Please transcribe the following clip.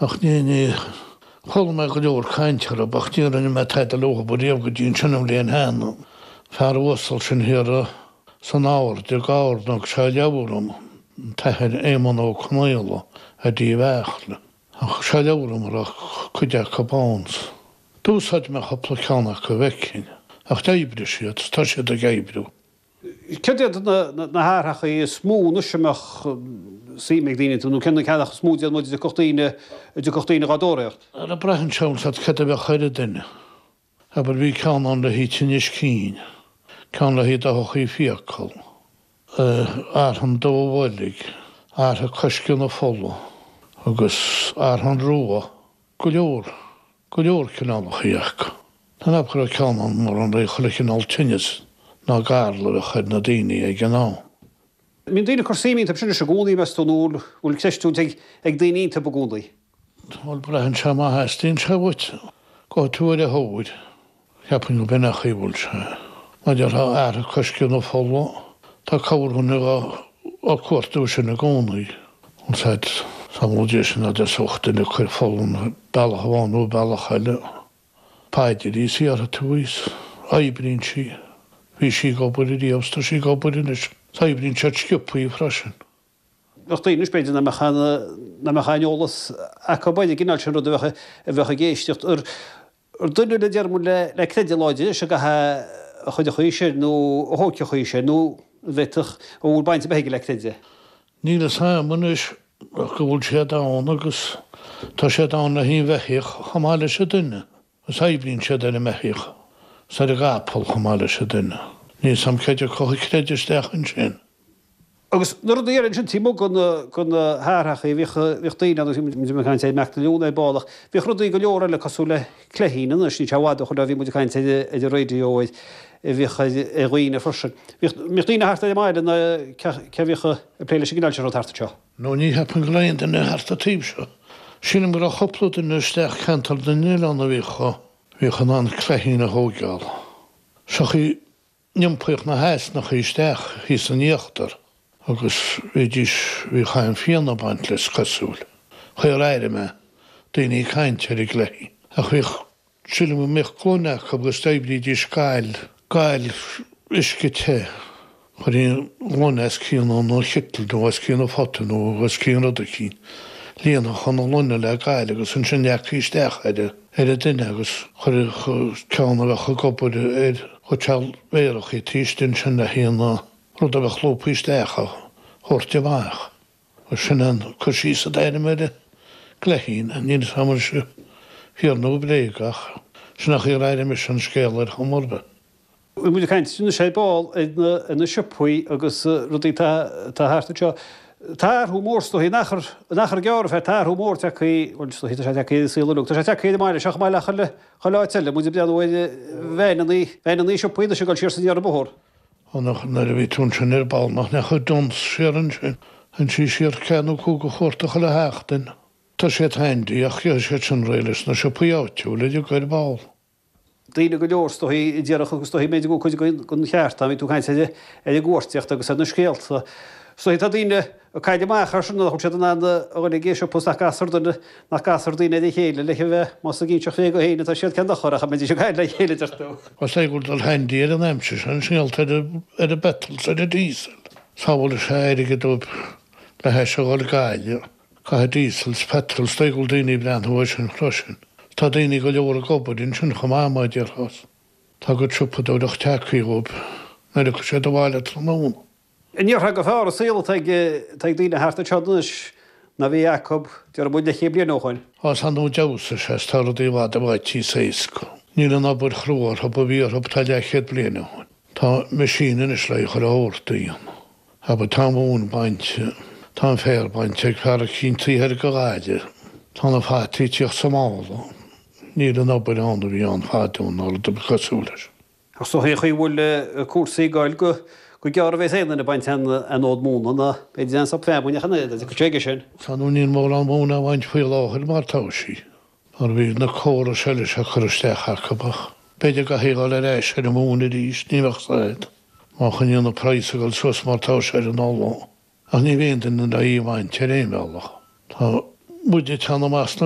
Ach ní, ní, chuala mé go leor caint orthu ach ní rinne mé tada leothab ariamh go dtí ansin an bhliain cheana. Fear uasal sin thiar san Aird i gCarna thug sé leabhar dom, an tAthair Éamonn Ó Conaola ar Uíbh Eachach. Thug sé leabhar dom a raibh cuid acu ann. D'úsáid mé cúpla ceann acu a bhfeicfinn, ach d'oibrigh siad, tá siad ag oibriú. Céard iad na hathrachaí is mó anois a mbeadh suim ag daoine iontu, nó cé na ceannacha is mó a déarfadh muid a dtiocfadh daoine, a dtiocfadh daoine dhá dtóraíocht? Ara braitheann sé an cad a bheadh ar an duine. Abair bhí ceann ann le haghaidh tinnis cinn, ceann le haghaidh dothachaí fiacal, arthan dubh an bhoilg, artha coisceadh na fola agus arthan rua. Go leor, go leor cineálachaí acu. Tá mé ag ceapadh go raibh ceann ann mar an raibh chuile chineál tinneas ná galar a chuir na daoine ag an am. Mbíonn daoine ag cur suim iontu sin anois i gcónaí, meas tú, nó bhfuil creistiúint ag ag daoine iontu i gcónaí? Bhuel, braitheann sé má theastaíonn sé uait, gabhfaidh tú ar a thóir. Cheapfainn go b'in an chaoi a bhfuil sé. Mar a déarfá artha coisceadh na fola, tá corrdhuine á cuartú sin i gcónaí. An said samhla de sin ná deasódh duine ag cur fola bealach amháin nó bealach eile. Paidir í is iarrfaidh tú í is oibríonn sí. Bhí sí ag obair ariamh is tá sí ag obair anois. Is oibríonn siad sciobthaí freisin. Bheadh daoine anois, b'fhéidir, nach mbeadh aon, nach mbeadh aon eolas acu ar an gcineál sin rud a bheadh, a bheadh ag éisteacht. Ar, ar duine le, déarfaidh muid, le, le creideamh láidir anois a gcaithfidh a chuideochaí sin nó a thóigfeadh sin nó an bhféadfadh, an bhfuil baint ar bith aige le creideamh? Níl fhios a'm anois ach go bhfuil siad ann agus tá siad ann le haghaidh an bheithíoch chomh maith leis an duine. Agus oibríonn siad ar an mbeithíoch is ar an gcapall chomh maith leis an duine. Níl 'fhios a'm cé acu a chreid isteach ansin. Agus na rudaí eile ansin taobh amuigh de na, de na hathrachaí, bhíodh, bhíodh daoine ann, agus muid ag caint ar Mac na Leon ar ball, ach bhíodh rudaí go leor eile cosúil le cleithín anois, níl sé i bhfad ó shoin ó bhí muid ag caint ar, ar an raidió ar, a bhíodh ar, ar dhaoine freisin. Bhíodh, mbíodh daoine thart ar an mbaile nó cé, cé a bhíodh ag plé leis an gcineál sin rud thart anseo? No ní cheapaim go raibh aon duine thart an taobh seo. Sílim go raibh cúpla duine isteach ceantar na nOileán a bhíodh, bhíodh in ann cleithín a thóigeáil. Seo chaoi n-iompaíodh na heasnachaí isteach thíos in íochtar agus bhídís, bhíodh an-phian ag baint leis cosúil. Chaoi ar airigh mé daoine ag caint ar an gcleithín. Ach bhíodh Sílim go mbíodh gloine acu agus d'oibrídís gal, gal uisce te. Chuirtí an ghloine os cionn an chittle nó os cionn an phota nó os cionn rud eicínt. Líonfadh an ghloine le gal agus ansin leagfaí isteach ar ar an duine agus chuirfeadh ceann a bheadh ag obair ar chuid seal mhéarachaí taobh istigh ansin le haon rud a bheadh lúbtha isteach a thabhairt amach. Sin an cur síos a d'airím ar an gcleithín. Níl 'fhios a'm an sé fíor nó bréag ach sin an chaoi ar airigh mise an scéal ar chuma ar bith. Bhí muid ag caint anois ar ball ar na siopaí agus rudaí atá thart anseo. Tá athrú mór is dóichí in achar, in achar gearr, tá athrú mór tagtha, bhuel is dóichí tá sé tagtha ar an saol uilig, tá sé tagtha ar an mbaile seo chomh maith le chuile, chuile áit eile. Muid ag breathnú ar veaineannaí, veaineannaí siopaí anois ag dul siar is aniar an bóthar. Ó nach nuair a bhí tú ansin ar ball nach ndeachaigh Dunnes siar ansin. Théann sí siar ceathair nó cúig a chuarta chuile sheachtain. Tá siad handy ach gheobhaidh siad sin réidh leis na siopaí áitiúla uilig ar ball. Daoine go leor is dóichí a déarfadh agus is dóichí b'fhéidir go bhfuil cuid den cheart ann, bhí tú ag caint ar an gcuartaíocht agus ar na scéalta. Is dóichí tá daoine ag cailleadh amach air sin nach bhfuil siad in ann a dhul ag siopa is nach gcastar duine, nach gcastar daoine ar a chéile le bheith, más ag inseacht bhréige féin atá siad cén dochar ach a mbeidís ag caint le chéile deir tú. Is é go bhfuil dul handy ar an aimsir sin, scéalta ar ar an bpetrol 's ar an diesel. Sábhálfaidh sé airgead dóibh le hais a dhul Gaillimh. Caithfidh diesel 's petrol 's dóigh go bhfuil daoine ag breathnú air sin freisin. Tá daoine go leor ag obair ansin chomh maith mar a déarfá. Tá a gcuid siopadóireacht tagtha dhóibh nuair a thiocfaidh siad abhaile tráthnóna. An ndéarfá gur fearr an saol atá ag daoine thart anseo anois ná a bhí acu, déarfaidh muid, leathchéad bliain ó shoin? Á, is ar ndóigh d'fheabhsaigh sé, is tá rudaí i bhfad i bhfad níos éasca. Níl an obair chrua orthu a bhí orthu tá leathchéad bliain ó shoin. Tá machine anois le chuile shórt a dhéanamh. Abair, tá an mhóin bainte, tá an féar bainte ag fear eicínt taobh thoir de Ghaillimh, tá na fataí ag tíocht sa mála. Níl an obair ann a bhí ann fadó ná rud ar bith cosúil leis. Ach is dóichí an chaoi a bhfuil cúrsaí ag goil go gearr a bheas aon duine ag baint aon fhód móna ná b'fhéidir aon sop feamainne ach an oiread, dá dtiocfadh sé aige sin. Tá nó níl mórán móna á bhaint faoi láthair mar tá sí, mar bhí na córais eile seo curtha isteach acu ach b'fhéidir go gcaithfidh a dhul ar ais ar an mhóin arís, ní bheadh 's a'd, má choinníonn an praghas ag dul suas mar tá sé ar an ola. Ach ní bheidh aon duine le í a bhaint ar aon bhealach. Tá muid ag teannadh amach sna.